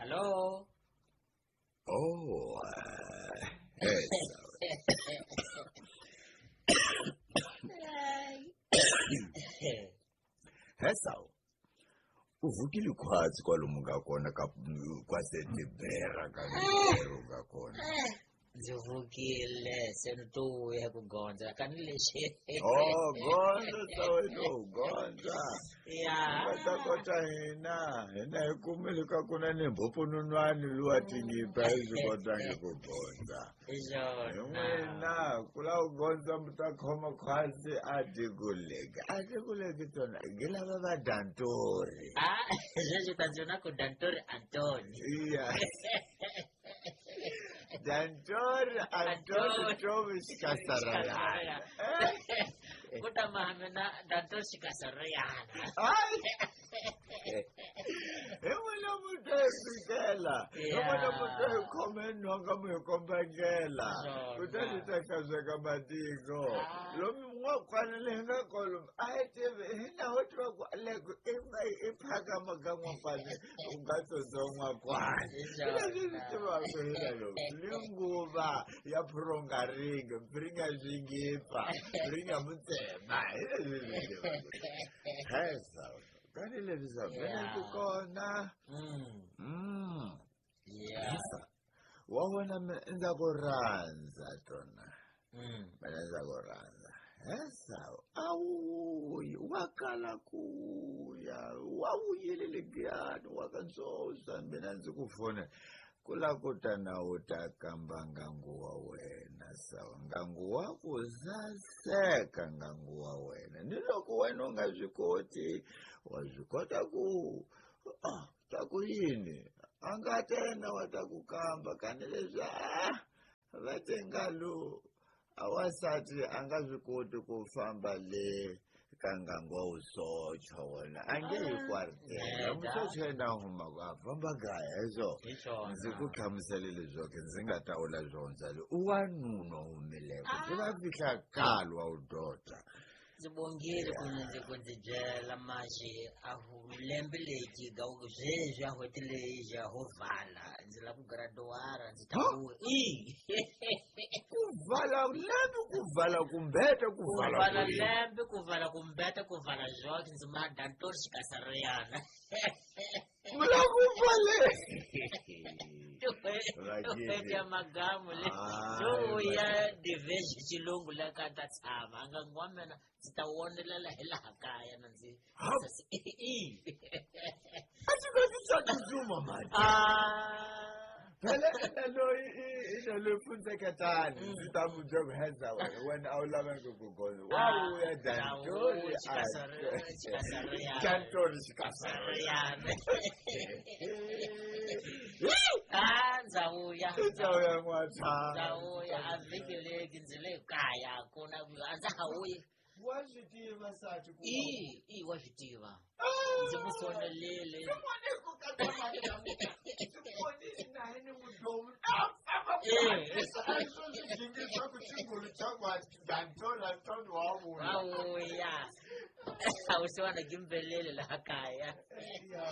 Hallo. Oh, Hesawu u vukile khwatsi kwalomu ka kona ka kwasetibera ka ntirho ka kona. Ndzi vukile se ni to vuya ku gondza ka ni lexi. Oh, gondza saweno gondza. Ya. Va ta kota hina hina hi kumile ka ku na ni mphopfononwani luwa tingipa hi swi kotangi ku gondza. Hi swona. Hi n'wina ku lava ku gondza mi ta khoma khwatsi a tikuleki a tikuleki tona ngi lava va dantori. Ah, sweswi ta ndzi na ku dantori Antoni. Iya. Dantori Antoni Tomi Xikasarayana. Ku ta maha mina dantori Xikasarayana. Hayi. Hi n'wina mu to hi fikela. Hi n'wina mu to hi khome nhonga mu hi komba ndlela. Kutani ta hlantsweka matiko. Lomu n'wakwana leyi nga kolomu a hi tivi hina ho tiva ku leko i phakama ka n'wakwana u nga tsotso n'wakwana. Hi leswi swi tivaka hina lomu. Ni nguva ya phurongaringa, mpfiringa swingipa, mpfiringa mutsema. Hi leswi swi tivaka. Hesa. Kani leswi sa vele ku kona. Yeah. Wa vona ndza ku rhandza tona. Mina ndza ku rhandza. Hesa a wu wa kala ku ya wa vuyile legiyani wa ka ntsonsa mina ndzi ku fonela ku la ku ta na u ta kamba ngangu wa wena sawa ngangu wa ku saseka ngangu wa wena ni loko wena u nga swi koti wa swi kota ku ah ta ku yini a nga ta yena wa ta ku kamba kani leswi a va te nga lo a wansati a nga swi koti ku famba le ka ngangu wa wusocha wona a nge yi kwartela musocha yena a humaka a famba kaya hi swona ndzi ku hlamusele leswaku ndzi nga ta vula swona le u wanuna humileko swi va fihla kalo wa wu dota. Ndzi bongile ku ndzi ku ndzi byela maxi a lembe leyi ga sweswi a n'hweti leyi ja ho vala ndzi lava ku graduwara ndzi ta ku i ku vala lembe ku vala kumbete ku vala vala lembe ku vala kumbete ku vala zwoke ndzi ma dantori xikasariyana. Mula ku vale. N'hweti ya magamu le yo ya diveji xilungu la ka ta tshama a nga wa mina ndzi ta wonelela hi laha kaya na ndzi a swi ka swi swa tsutsuma mani. Phela ina loyi ina loyi pfundzeketani ndzi ta mu byela ku heza wena wena a wu lavangi ku gondza wa vuya dantori dantori xikasariyana. Ah, ndza vuya. Ndza vuya n'watshana. Ndza vuya a vhiki leki ndzi le kaya ku na a ndza ha vuyi. Wa swi tiva sati ku I i wa swi tiva. Ndzi ku fonelele. Swin'wana ku katsa mali ya mina. Ndzi vonile na hi ni mudomu. Swi xingulu xa ku dantori Antoni wa vuya. Wa vuya. A wu siwana gimbelele laha kaya. Ya.